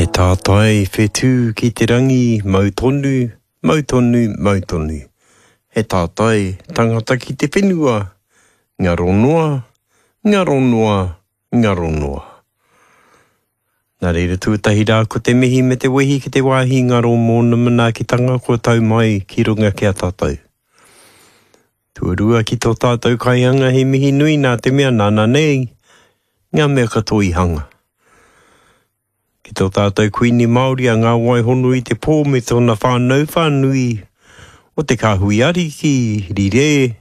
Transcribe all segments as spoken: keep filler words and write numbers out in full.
He tātai whetū ki te rangi, mau tonu, mau tonu, mau tonu. He tātai tangata ki te whenua, ngaro noa, ngaro noa, ngaro noa. Nā reira tuatahi rā ko te mihi me te wehi ki te wāhi ngaro mōna manaakitanga kua tau mai ki runga ki a tātou. Tuarua ki tō tātou kaihanga he mihi nui nā te mea nāna nei ngā mea katoa i hanga. Ki tō tātou Kuini Māori a Ngā Waihono i te pō me tōna whānau whānui o te kāhui ariki, rire,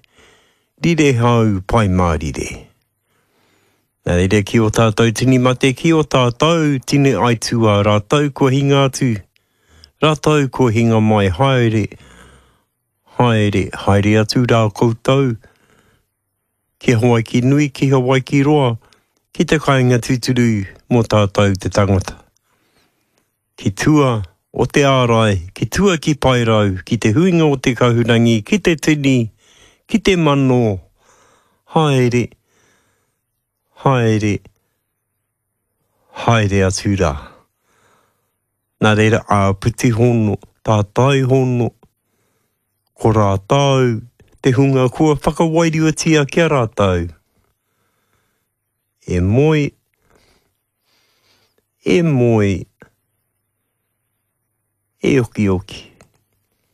rire hau, pai mārire. Nā reira ki o tātou tini mate, ki o tātou tini aituā, rātou kua hinga atu, rātou kua hinga mai, haere, haere, haere atu rā koutou, ki Hawaiki nui, ki Hawaiki roa, ki te kāinga tūturu mō tātou te tangata. Ki tua o te ārai, ki tua ki Paerau, ki te huinga o te kahurangi, ki te tini, ki te mano, haere, haere, haere atu rā. Nā reira āpiti hono, tātai hono, ko rātou te hunga kua whakawairuatia ki a rātou. E moe, e moe, e okioki.